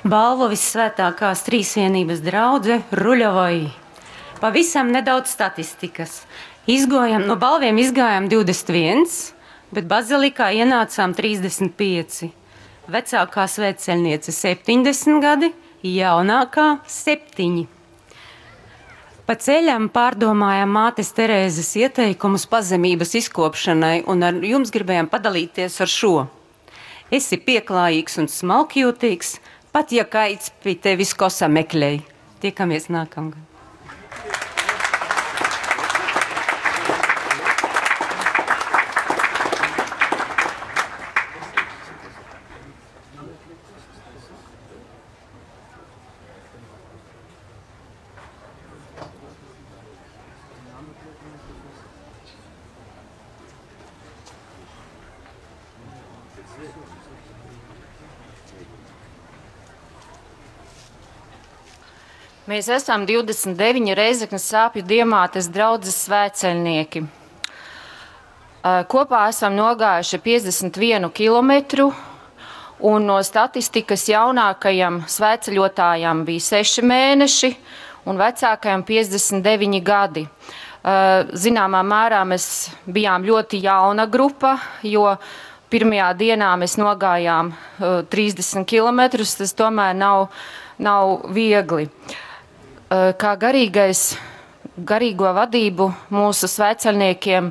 Balvu Vissvētākās Trīsvienības draudze Ruļovoj. Pavisam nedaudz statistikas. Izgojam, no balviem izgājām 21, bet bazilikā ienācām 35. Vecākā svētceļniece 70 gadi, jaunākā 7. Pa ceļam pārdomājām mātes Terēzes ieteikumus pazemības izkopšanai, un ar jums gribējām padalīties ar šo. Esi pieklājīgs un smalkjūtīgs, pat ja kaids pie tevis kosa meklēj. Tiekamies nākamgad. Mēs esam 29 Rēzeknes sāpju diamātes draudzes svētceļnieki. Kopā esam nogājuši 51 kilometru, un no statistikas jaunākajam svētceļotājam bija 6 mēneši un vecākajam 59 gadi. Zināmā mērā mēs bijām ļoti jauna grupa, jo pirmajā dienā mēs nogājām 30 kilometrus, tas tomēr nav, nav viegli. Kā garīgais, garīgo vadību mūsu svētceļniekiem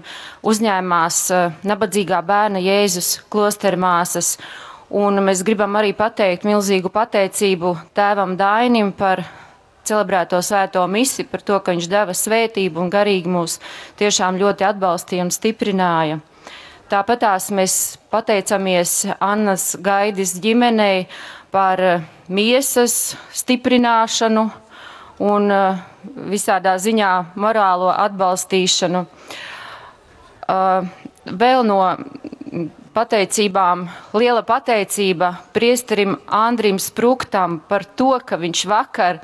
uzņēmās nabadzīgā bērna Jēzus klostermāsas. Un mēs gribam arī pateikt milzīgu pateicību tēvam Dainim par celebrēto svēto misi, par to, ka viņš deva svētību un garīgi mūs tiešām ļoti atbalstīja un stiprināja. Tāpatās mēs pateicamies Annas Gaidis ģimenei par miesas stiprināšanu un visādā ziņā morālo atbalstīšanu. Vēl no pateicībām, liela pateicība priesterim Andrim Spruktam par to, ka viņš vakar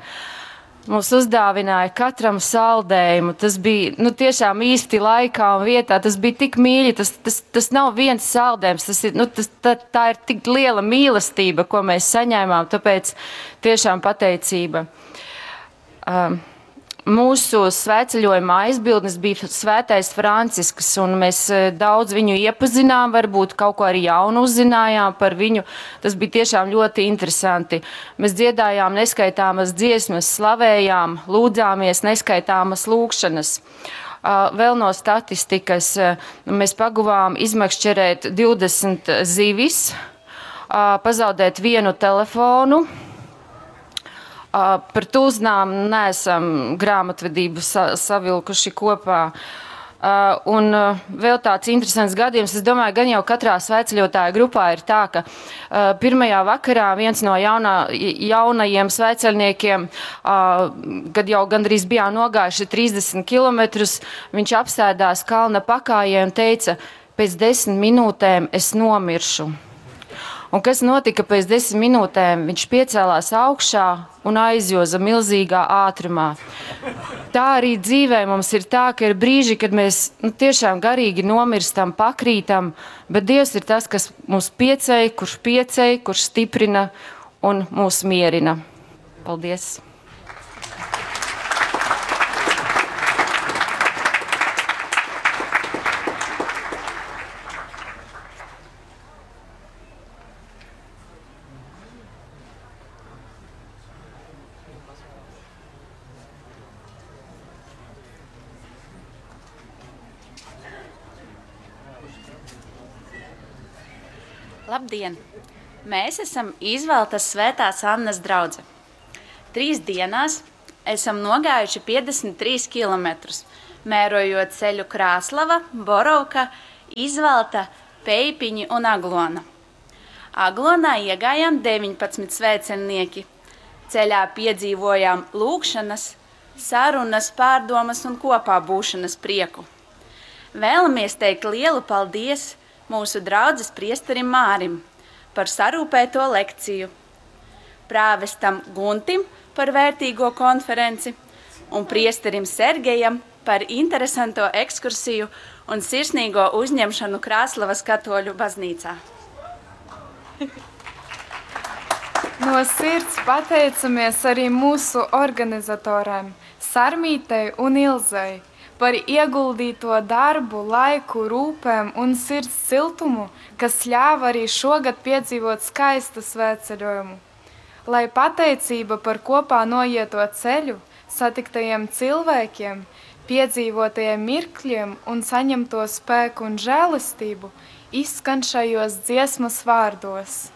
mums uzdāvināja katram saldējumu. Tas bija nu, tiešām īsti laikā un vietā. Tas bija tik mīļi. Tas, tas, tas nav viens saldējums. Tas ir, nu, tas, tā, tā ir tik liela mīlestība, ko mēs saņēmām. Tāpēc tiešām pateicība. Mūsu svētceļojuma aizbildnis bija Svētais Francisks, un mēs daudz viņu iepazinām, varbūt kaut ko arī jaunu uzzinājām par viņu. Tas bija tiešām ļoti interesanti. Mēs dziedājām neskaitāmas dziesmas, slavējām, lūdzāmies neskaitāmas lūgšanas. Vēl no statistikas mēs paguvām izmakšķerēt 20 zivis, pazaudēt vienu telefonu. Par tūznām neesam grāmatvedību sa savilkuši kopā. Un vēl tāds interesants gadījums, es domāju, gan jau katrā svētceļotāja grupā ir tā, ka pirmajā vakarā viens no jaunā, jaunajiem svētceļniekiem, kad jau gandrīz bijām nogājuši 30 kilometrus, viņš apsēdās kalna pakājē un teica, pēc 10 minūtēm es nomiršu. Un kas notika pēc 10 minūtēm? Viņš piecēlās augšā un aizjoza milzīgā ātrumā. Tā arī dzīvē mums ir tā, ka ir brīži, kad mēs nu, tiešām garīgi nomirstam, pakrītam, bet Dievs ir tas, kas mūs pieceļ, kurš pieceļ, kurš stiprina un mūs mierina. Paldies! Labdien! Mēs esam Izvaltas Svētās Annas draudze. Trīs dienās esam nogājuši 53 kilometrus, mērojot ceļu Krāslava, Borovka, Izvalta, Peipiņi un Aglona. Aglonā iegājām 19 svētceļnieki. Ceļā piedzīvojām lūgšanas, sarunas, pārdomas un kopā būšanas prieku. Vēlamies teikt lielu paldies mūsu draudzes priesterim Mārim par sarūpēto lekciju, prāvestam Guntim par vērtīgo konferenci un priesterim Sergejam par interesanto ekskursiju un sirsnīgo uzņemšanu Krāslavas katoļu baznīcā. No sirds pateicamies arī mūsu organizatorēm Sarmītei un Ilzei par ieguldīto darbu, laiku, rūpēm un sirds siltumu, kas ļāva arī šogad piedzīvot skaistu svētceļojumu. Lai pateicība par kopā noieto ceļu, satiktajiem cilvēkiem, piedzīvotajiem mirkļiem un saņemto spēku un žēlastību izskan šajos dziesmas vārdos.